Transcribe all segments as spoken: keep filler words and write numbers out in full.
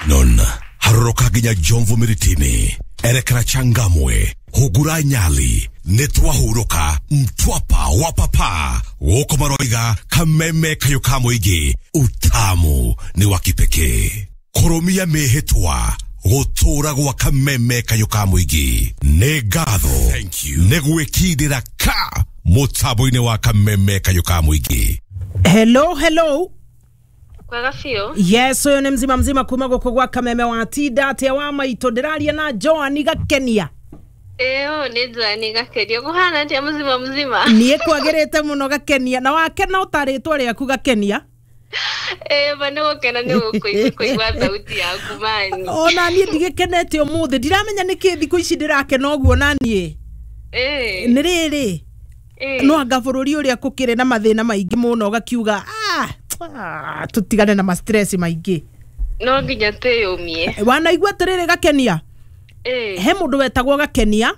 Non haroroka nginya Jomvu Miritini, erekera Changamwe, Hugura Nyali, nĩtwahurũka Mtwapa wa papa gũkũ maroiga kameme kayũ ka mũingĩ, utamu nĩ wa kipekee. Kũrũmia mĩhĩtwa gũtũra gwa kameme kayũ ka mũingĩ nĩ ngatho nĩ gwĩkindĩra ka mũtambo-inĩ wa kameme kayũ ka mũingĩ. Hello, hello. Kwega biũ. Yes, ũyũ nĩ mzima mzima kuma gũkũ gwa kameme wa tinda atĩa wa maitũ, ndĩraria na Joan Gakenia. Ĩyo nĩ Joan Gakenia. Kũhana atĩa mzima mzima? Niĩ kwagĩrĩte mũno Gakenia, na wakena ũtarĩtwo rĩaku Gakenia. Ĩĩ ma nĩ gũkena nĩ gũkũigua kũigua thauti yaku mani. Ona niĩ ndigĩkenete ũmũthĩ, ndiramenya nĩkĩ thikũ ici ndĩrakena ũguo na niĩ. Ĩĩ. Nĩ rĩrĩ, no anga bũrũri ũrĩa kũkĩrĩ na mathĩna maingĩ mũno ũgakiuga ah, ah, tũtigane na ma stress maingĩ. No nginya twĩyũmie. Wanaigua atĩrĩrĩ Gakenia? Ĩĩ. He mũndũ wetagwo Gakenia,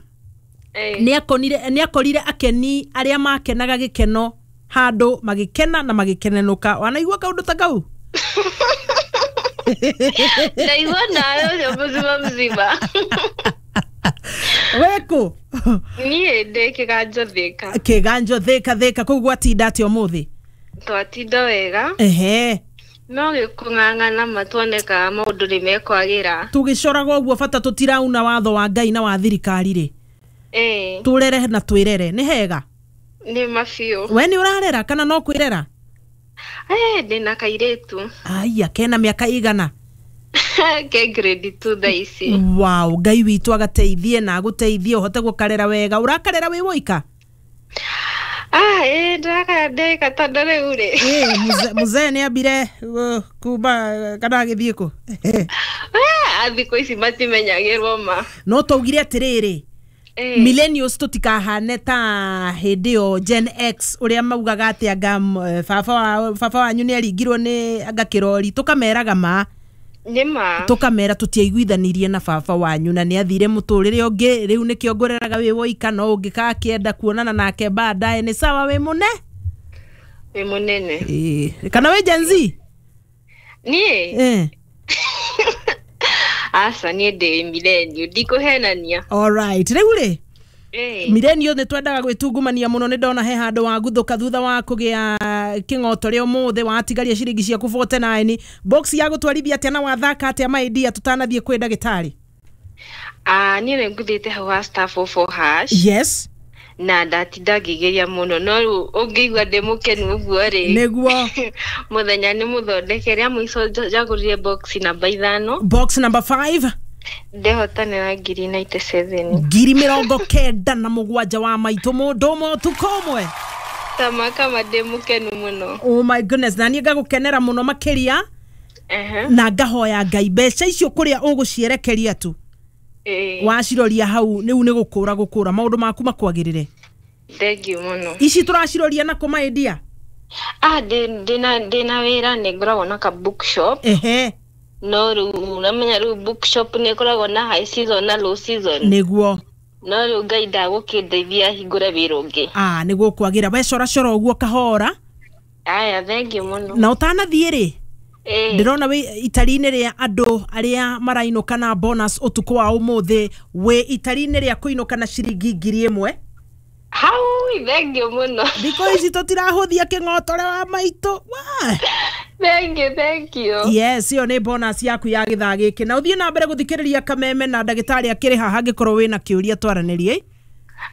Ĩĩ. nĩakonire, nĩakorire akeni arĩa makenaga gĩkeno handũ magĩkena na magĩkenenũka. Wanaigua kaũndũ ta kau? Ndaigua nawe ũcio mzima mzima. Wĩkũ? Niĩ ndĩ Kĩganjo Thĩka. Kĩganjo Thĩka, Thĩka kũu gwatinda atĩa ũmũthĩ? Twatinda wega. Ehe. No gĩkũng'ang'ana ma tuonekaga maũndũ nĩ mekwagĩra. Tũgĩcoraga ũguo bata tũtirauna watho wa Ngai na wa thirikari rĩ. Ĩĩ. Tũrere na twĩrere, nĩ hega? Nĩ ma biũ. We nĩ ũrarera kana no kwĩrera? Eh, ndĩna kairĩtu. Aya, kena mĩaka igana? Ke grade two thaa ici. Wow, Ngai witũ agateithie na agũteithie ũhote gũkarera wega. Ũrakarera wĩ woika? Ah, ĩĩ ndĩrakara ndĩka tondũ rĩu rĩ. Ĩĩ, mzee, mzee nĩ ambire, uh, kuma kana agĩthiĩ kũ? Ah, thikũ ici matimenyagĩrwo ma. No twaugire atĩrĩrĩ, Ĩĩ. millennials tũtikahane ta hĩndĩ ĩyo Gen X ũrĩa maugaga atĩ anga, eh, baba wa, baba wanyu nĩ aringirwo nĩ anga kĩrori, tũkameraga ma. Nĩ ma. Tũkamera tũtiaiguithanirie na baba wanyu na nĩ athire mũtũrĩre ũngĩ, rĩu nĩkĩo ngũreraga wĩ woika, no ũngĩkakĩenda kuonana nake baadaye nĩ sawa, wĩ mũne? Wĩ mũnene. Ĩĩ. Kana wĩ Gen Z? Niĩ? Ĩĩ. Aca, niĩ ndĩ millennial, ndikũhenania. Alright, rĩu rĩ, Ĩĩ. millennial nĩ twendaga gwĩtungumania mũno, nĩ ndona he handũ waguthũka thutha wa kũgĩa kĩng'oto rĩa ũmũthĩ, watigaria ciringi ciaku forty-nine. Box ya gũtwarithia atĩa na wathaka atĩa maidia tũtanathiĩ kwĩ ndagĩtarĩ? Ah, niĩ nĩ nguthĩte hau ha star four four hash. Yes. Na ndatinda ngĩgeria mũno, no rĩu ũngĩigua ndĩ mũkenu ũguo rĩ. Nĩguo. Mũthenya nĩ mũthondeke, rĩa mũico njagũrire box namba ithano. Box number five. Ndehotanĩra ngiri ninety-seven. Ngiri mĩrongo kenda na mũgwanja wa maitũ mũndũ ũmwe ũtukũ ũmwe. Tama kama ndĩ mũkenu mũno. Oh my goodness, na niĩ ngagũkenera mũno makĩria. Ehe. Na ngahoya Ngai mbeca icio kũrĩa ũgũcierekeria tu. Ĩĩ. Waciroria hau rĩu nĩ gũkũra gũkũra maũndũ maku makwagĩrĩre. Thank you mũno. Ici tũraciroria na kũ maidia? Ah, ndĩ, ndĩna, ndĩna wĩra, nĩ ngoragwo na ka bookshop. Ehe. No rĩu ũramenya rĩu bookshop nĩ ĩkoragwo na high season na low season. Nĩguo. No rĩu Ngai ndagũkĩndeithia hingũre wĩra ũngĩ. Ah, nĩguo kwagĩra. We cora cora ũguo kahora. Aya, thank you mũno. Na ũtanathiĩ rĩ? Ĩĩ. Ndĩrona wĩ itari-inĩ rĩa andũ arĩa marainũka na bonus ũtukũ wa ũmũthĩ, wĩ itari-inĩ rĩa kũinũka na ciringi ngiri ĩmwe. Hau, thank you mũno. Thikũ ici tũtirahũthia kĩng'otore wa maitũ. Wa! Thank you, thank you. Yes, ĩyo nĩ bonus yaku ya gĩthaa gĩkĩ. Na ũthiĩ na mbere gũthikĩrĩria kameme na ndagĩtarĩ akĩrĩ haha angĩkorwo wĩna kĩũria twaranĩrie.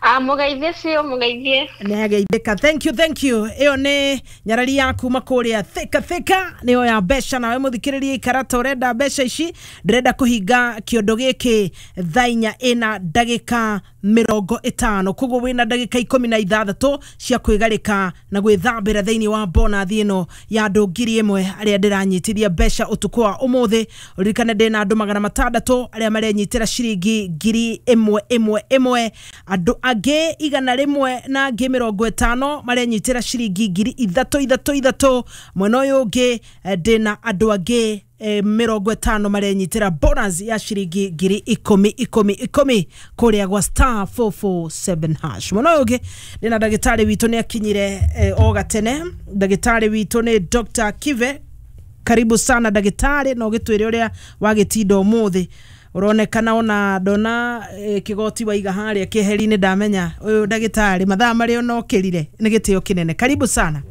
Ah, mũgeithie biũ, mũgeithie. Nĩ ageithĩka. Thank you, thank you. Ĩyo nĩ nyarari ya kuma kũrĩa Thika Thika, nĩyo ya mbeca. Nawe mũthikĩrĩria ikara ta ũrenda mbeca ici, ndĩrenda kũhinga kĩondo gĩkĩ thaa inya ĩna ndagĩka mĩrongo ĩtano, koguo wĩna ndagĩka ikũmi na ithathatũ cia kwĩgarĩka na gwĩthambĩra thĩinĩ wa bonathi ĩno ya andũ ngiri ĩmwe arĩa ndĩranyitithia mbeca ũtukũ wa ũmũthĩ. Ũririkane ndĩna andũ magana matandatũ arĩa marenyitĩra ciringi ngiri ĩmwe ĩmwe ĩmwe, andũ angĩ igana rĩmwe na angĩ mĩrongo ĩtano marenyitĩra ciringi ngiri ithatũ ithatũ ithatũ. Mwena ũyũ ũngĩ, eh, ndĩna andũ angĩ, eh, mĩrongo ĩtano marenyitĩra bonus ya ciringi ngiri ikũmi ikũmi ikũmi kũrĩa gwa star four four seven hash. Mwena ũyũ ũngĩ ndĩna ndagĩtarĩ witũ nĩ akinyire, eh, o gatene. Ndagĩtarĩ witũ nĩ Doctor Kive. Karibu sana ndagĩtarĩ, na ũgĩtwĩre ũrĩa wagĩtinda ũmũthĩ. Ũronekana ona ndona eh, kĩgoti waiga harĩa kĩeheri-inĩ, ndamenya ũyũ ndagĩtarĩ mathaa marĩa onokĩrire nĩ gĩtĩo kĩnene. Karibu sana.